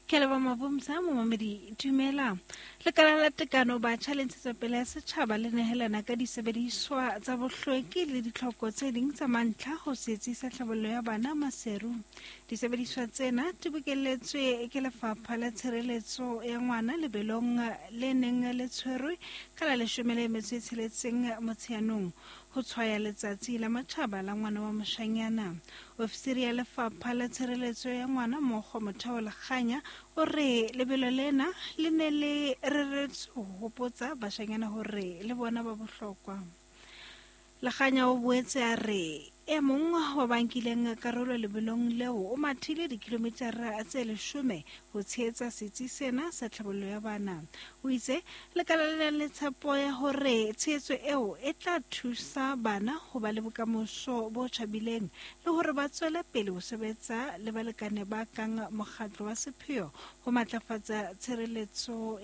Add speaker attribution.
Speaker 1: Ke a leboha Mabomsa, momamedi dumela. Lekala la tekano batjha le ntshetsopele ya setjhaba le nehelana ka disebediswa tsa bohlweki le ditlhoko tse ding tsa mantlha ho setsi sa tlhabollo ya bana Maseru. Disebediswa tsena di bokelletswe ke lefapha la tshireletso ya ngwana lebelong le neng le tshwerwe ka la 16 Motsheanong ho tshwaya letsatsi la matjhaba la ngwana wa moshanyana. Ofisiri ya lefapha la tshireletso ya ngwana Mokgo Motheo Lekganya o re lebelo lena le ne le reretswe ho hopotsa bashanyana hore le bona ba bohlokwa. Lekganya o boetse a re e mong wa ba nkileng karolo lebelong leo o mathile dikilomitara tse 10 ho tshehetsa setsi sena sa tlhabollo ya bana. O itse lekala le nang le tshepo ya hore tshehetso eo e tla thusa bana ho ba le bokamoso bo tjhabileng le hore ba tswele pele ho sebetsa le balekane ba kang mokgatlo wa sepheo ho matlafatsa tshireletso.